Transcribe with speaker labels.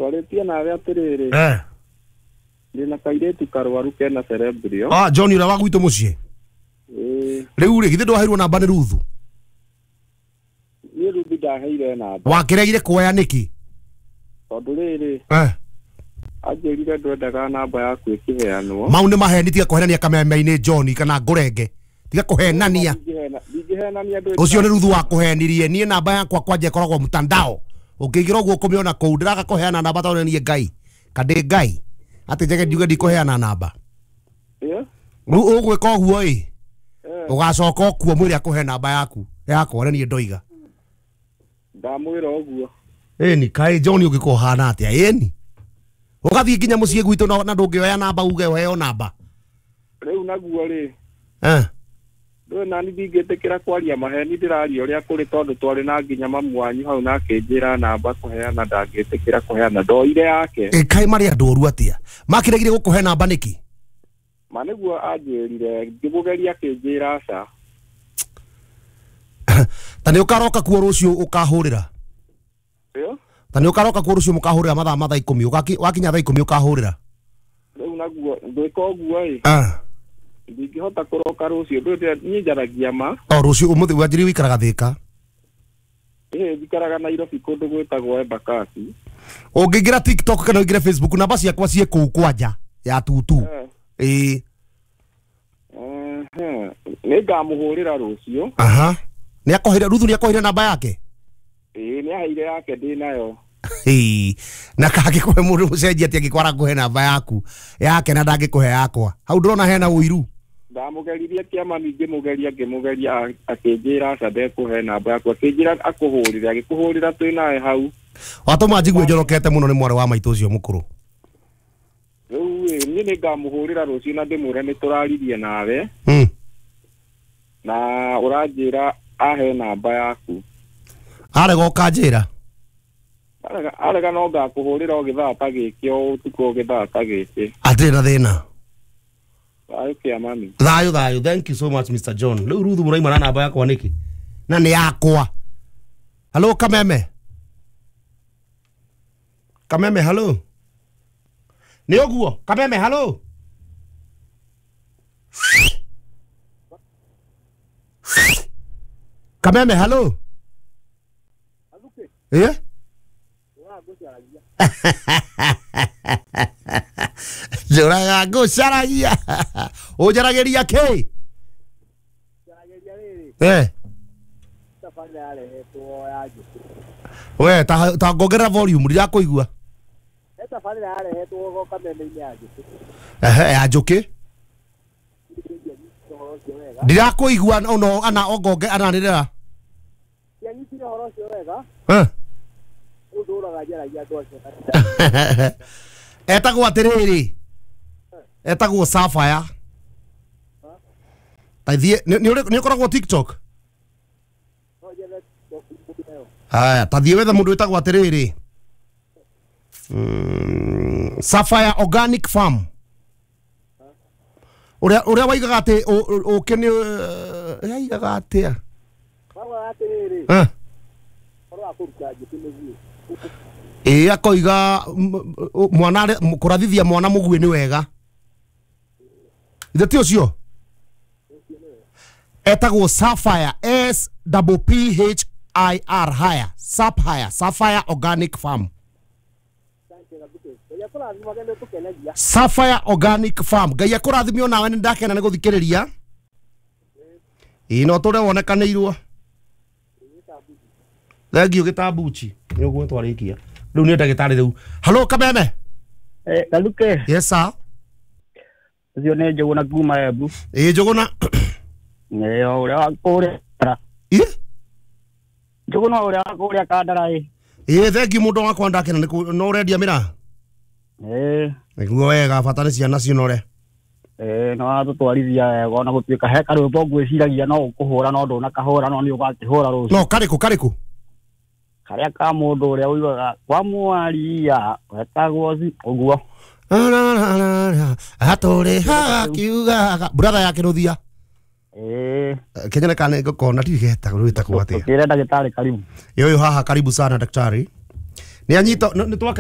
Speaker 1: Twarĩtie nawe atĩrĩrĩ.
Speaker 2: Eh.
Speaker 1: Ndĩna kairĩtu karwaru kena cerebrio.
Speaker 2: Ah, John ũrĩa wa gwitũ mũciĩ.
Speaker 1: Ĩĩ.
Speaker 2: Rĩu rĩ, githĩ ndwaheirwo namba nĩ Ruthu?
Speaker 1: Niĩ Ruthi ndaheire namba.
Speaker 2: Wakĩregire kuoya nĩkĩ?
Speaker 1: Tondũ rĩrĩ.
Speaker 2: Eh.
Speaker 1: Anjĩrire ndwendaga namba yaku ĩkĩheanwo.
Speaker 2: Mau nĩ maheni, tiga kũhenania kameme-inĩ John kana ngũrenge. Tiga kũhenania.
Speaker 1: Ndingĩhenania ndwĩ.
Speaker 2: Ũcio nĩ Ruthu wakũhenirie. Niĩ namba yakwa kwanja ĩkoragwo mtandao. Ũngĩingĩra ũguo ũkũmĩona kũu. Ndĩraga kũheana namba tondũ niĩ Ngai. Kandĩ Ngai. Atĩ njege njuge ndikũheana namba.
Speaker 1: Ĩĩ.
Speaker 2: Rĩu ũgwĩka ũguo ĩ. Ũgacoka ũkuo mwĩre akũhe namba yaku. Yakwa nĩ niĩ ndoiga.
Speaker 1: Ndamwĩra ũguo.
Speaker 2: Ĩni kaĩ John ũngĩkorwo ũhana atĩa? Ĩni. Ũgathiĩ nginya mũciĩ gwitũ na ndũngĩoya namba uge ũheo namba.
Speaker 1: Rĩu naguo rĩ.
Speaker 2: Eh.
Speaker 1: Ndũĩ nani ndingĩtĩkĩra kwaria maheni, ndĩraria ũrĩa kũrĩ tondũ twarĩ na nginya mamu wanyu hau na akĩnjĩra namba kũheana ndangĩtĩkĩra kũheana, ndoire yake.
Speaker 2: Ĩ kaĩ marĩ andũ oru atĩa? Makĩregire gũkũhe namba nĩkĩ?
Speaker 1: Ma nĩguo anjĩrire, ngĩmũgeria akĩnjĩra aca.
Speaker 2: Ta nĩ ũkaroka kuo rũciũ ũkahũrĩra?
Speaker 1: Ĩyo?
Speaker 2: Ta nĩ ũkaroka kuo rũciũ mũkahũrĩra mathaa ma thaa ikũmi, wakinya thaa ikũmi ũkahũrĩra?
Speaker 1: Rĩu naguo ngwĩka ũguo ĩ.
Speaker 2: Ah.
Speaker 1: Ndingĩhota kũroka rũciũ, ndũĩ niĩ njaragia ma.
Speaker 2: O rũciũ ũmũthĩ wanjĩrĩire ũikaraga Thĩka?
Speaker 1: Ĩĩ, njikaraga Nairobi kũndũ gwĩtagwo Embakasi.
Speaker 2: Ũngĩingĩra TikTok kana ũingĩre Facebook, namba ciakwa ciĩ kũu kwanja ya tutu. Ĩĩ.
Speaker 1: Nĩ ngamũhũrĩra rũciũ.
Speaker 2: Aha. Nĩ akũheire Ruthu, nĩ akũheire namba yake?
Speaker 1: Ĩĩ, nĩ aheire yake ndĩ nayo.
Speaker 2: Ĩĩ. Na kangĩkũhe mũndũ mũcenjia atĩ angĩkorwo arakũhe namba yaku yake na ndangĩkũhe yakwa. Hau ndĩrona hena ũiru.
Speaker 1: Ndamũgeririe kĩama ngĩmũgeria ngĩmũgeria akĩnjĩra aca ndekũhe namba yaku, akĩnjĩra akũhũrĩre, agĩkũhũrĩra twĩ nawe hau.
Speaker 2: Watũma njigue njorokete mũno nĩ mwarĩ wa maitũ ũcio mũkũrũ.
Speaker 1: Rĩu ĩ, niĩ nĩ ngamũhũrĩra rũciũ na ndĩmwĩre nĩ tũraririe nawe. Na ũranjĩra ahe namba yaku.
Speaker 2: Arega ũkanjĩra?
Speaker 1: Arega no ngakũhũrĩra o gĩthaa ta gĩkĩ, o ũtukũ o gĩthaa ta gĩkĩ.
Speaker 2: Atirĩ na thĩna.
Speaker 1: Thayũ kĩamani.
Speaker 2: Thayũ thayũ. Thank you so much Mr. John. Rĩu Ruthu mũraima na namba yakwa nĩkĩ? Na nĩ yakwa. Hello Kameme. Kameme hello. Nĩ ũguo Kameme hello. Kameme hello. Eh? Njũraga ngũcaragia. Ũnjaragĩria kĩ? Eh. We ta ngongerera volume ndirakũigua. Ehe, ya njũkĩ. Ndirakũigua no ana ongonge ananĩrĩra. Eh. Etagwo atĩrĩrĩ. Etagwo Sapphire. Ta thiĩ nĩ ũkoragwo TikTok? Haya, ta thiĩ wethe mũndũ wĩtagwo atĩrĩrĩ. Sapphire Organic Farm. Ũrĩa waigaga atĩ ũkĩ nĩ yaigaga atĩa? Eh. Ĩĩ, akoiga mwana kũrathithia mwana mũguĩ nĩ wega. Ithe ti ũcio? Etagwo Sapphire, S P P H I R higher, Sapphire, Sapphire Organic Farm. Sapphire Organic Farm. Ngai akũrathime onawe, nĩ ndakena nĩ gũthikĩrĩria. Ĩĩ, no tũre wonekanĩirwo. Thank you gĩtambuchi. Nĩ ũguo twarĩkia. Rĩu nĩ ndagĩtarĩ rĩu. Hello Kameme.
Speaker 3: Eh, Kaluke.
Speaker 2: Yes sir.
Speaker 3: Ũcio nĩ Njũgũna kuma Embu.
Speaker 2: Ĩĩ Njũgũna.
Speaker 3: Ĩĩ, ũrĩa wa kũrĩa.
Speaker 2: Ĩ?
Speaker 3: Njũgũna ũrĩa wa kũrĩa Kandara ĩ.
Speaker 2: Ĩĩ, thank you mũndũ wakwa, ndakena nĩ no ũrendia mĩraa.
Speaker 3: Ĩĩ.
Speaker 2: Nĩguo wega, bata nĩ ciana cinore.
Speaker 3: Ĩĩ, no watũtwarithia wega ona gũtuĩka he karwĩmbo ngwĩciragia no ũkũhũra no ndũnakahũra no nĩ ũgakĩhũra rũciũ.
Speaker 2: No karĩkũ karĩkũ?
Speaker 3: Karĩa ka mũndũ ũrĩa ũigaga kwa mwaria wetagwo ũguo.
Speaker 2: Atũrĩ haha kiugaga brother ya Kĩrũthia.
Speaker 3: Ĩĩ.
Speaker 2: Kenya kana ngũkona ndirĩ getagwo rwĩtagwo atĩa.
Speaker 3: Tũkĩre ndagĩtarĩ karibu.
Speaker 2: Yoyo haha karibu sana daktari. Nĩ anyita nĩ twakena.